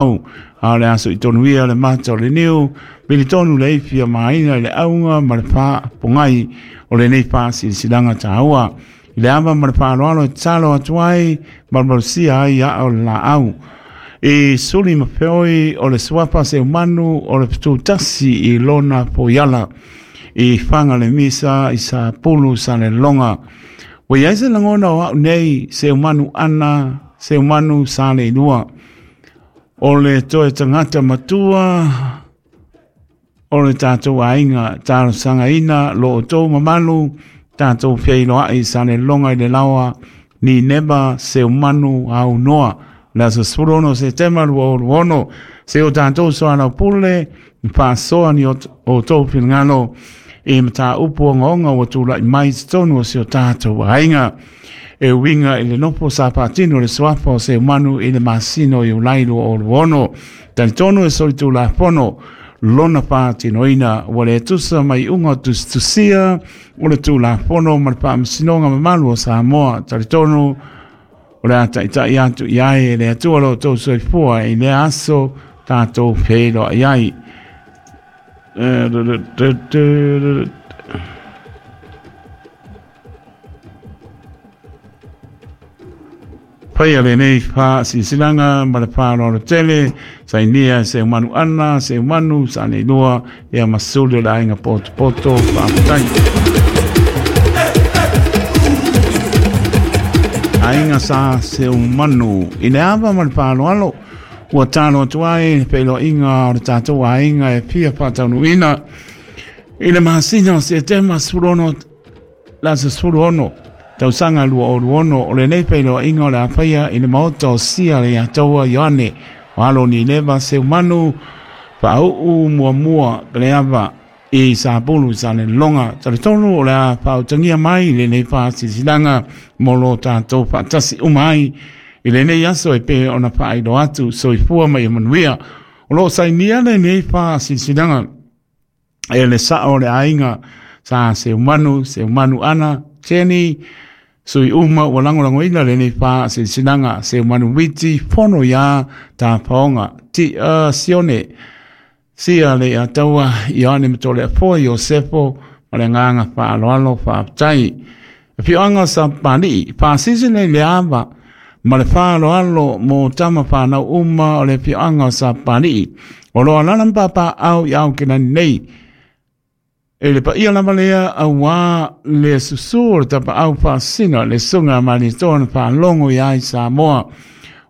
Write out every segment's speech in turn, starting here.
A o le aso i tonu ia le mata o le niu, militonu le ifi a maina i le auga ma le faapogai o lenei faasilasilaga taua. I le ava ma le faaaloalo e tatalo atu ai, malumalusia ai aa o le laau. I suli ma feoi o le suafa Seumanu o le Fetu-tasi i lona foiala i faga le misa i Sapulu Saleloga. Ua i ai se lagona o au nei Seumanu ana Seumanu Saleilua. O le toe tagata matua o le tatou aiga talosagaina lo outou mamalu tatou feiloai i Saleloga i le laoa Nineva Seumanu Aunoa le aso 16 Setema 2026 se o tatou soalaupule faasoa ni outou finagalo i mataupu ogaoga ua tulai mai i totonu o si o tatou aiga. E uiga i le nofo sa faatino le suafa o Seumanu i le masina o Iulai 2026. Talitonu e solitulafono lona faatinoina ua le tusa ma iuga o tusitusia o le Tulafono ma le Faamasinoga mamalu o Samoa. Talitonu o le a taitai atu i ai e le Atua lo outou soifua i lea aso tatou feiloai ai. Faia lenei faasilasilaga ma le faaaloalo tele, sainia e Seumanu Ana, Seumanu Saleilua, ia ma Suli o le Aiga Potopoto. Faafetai. Aiga sa Seumanu i le ava ma le faaaloalo ua talo atu ai le feiloaiga o le tatou aiga e fia faataunuuina i le masina o Setema 16 le aso 16 tausaga 2026. O lenei feiloaiga o le a faia i le maota o Sia le Ataua Ioane o alo Nineva Seumanu faauu muamua Peleava i Sapulu Saleloga. Talitonu o le a faautagia mai lenei faasilasilaga mo lo tatou faatasi uma ai i lenei aso e pei ona faailoa atu. Soifua ma ia manuia. O lo o sainia lenei faasilasilaga e le sao o le aiga sa Seumanu, Seumanu Ana, Jenny, sui uma ua lagolagoina lenei faasilasilaga, Seumanu Witi, Fono ia Tafaoga, Tia Sione, Sia le Ataua, Ioane Matoleafoa, Iosefo, ma le agaga faaaloalo faafetai. Afioaga o Sapapalii, faasilasila i le ava ma le faaaloalo mo tama whanau uma o le afioaga o Sapapalii. O lo alala ma papaau i Aokelani nei. E le paia lava lea auā le susu o le tapaau faasina le susuga a Malietoa na faalogo i ai Samoa.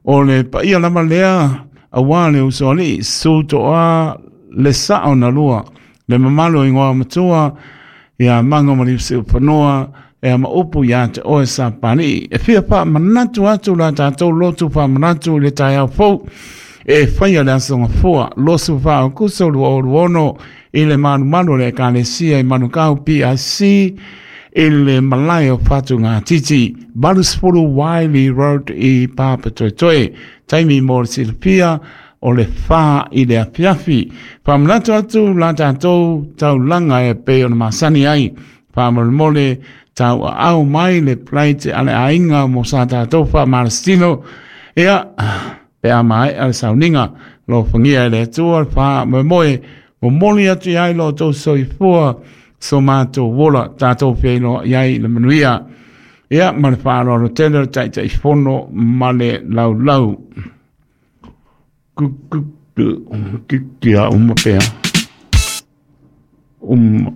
O le paia lava lea auā le usoalii, susu toa le sao na lua, le mamalu o ingoa matua, ia Mago ma Liusiufanua, e ama upu ia te oe Sapapalii. E fia faamanatu atu la tatou lotu faamanatu i le taeao fou e faia le aso Gafua 24 Aokuso 2026 i le malumalu o le Ekalesia i Manukau PIC i le malae o Fatugatiti 80 Wiley Road i Papatoetoe. Taimi mo le silafia o le 4 i le afiafi. Faamanatu atu la tatou taulaga e pei ona masani ai. Faamolemole tauaau mai le plate a le aiga mo sa tatou faamalositino. Ia, pe a maea le sauniga, alofagia e le Atua le faamoemoe, momoli atu i ai lo outou soifua, so matou ola, tatou feiloai ai i le manuia. Ia, ma le faaaloalo tele o le Taitaifono ma le laulau. Kia uma pea. Uma.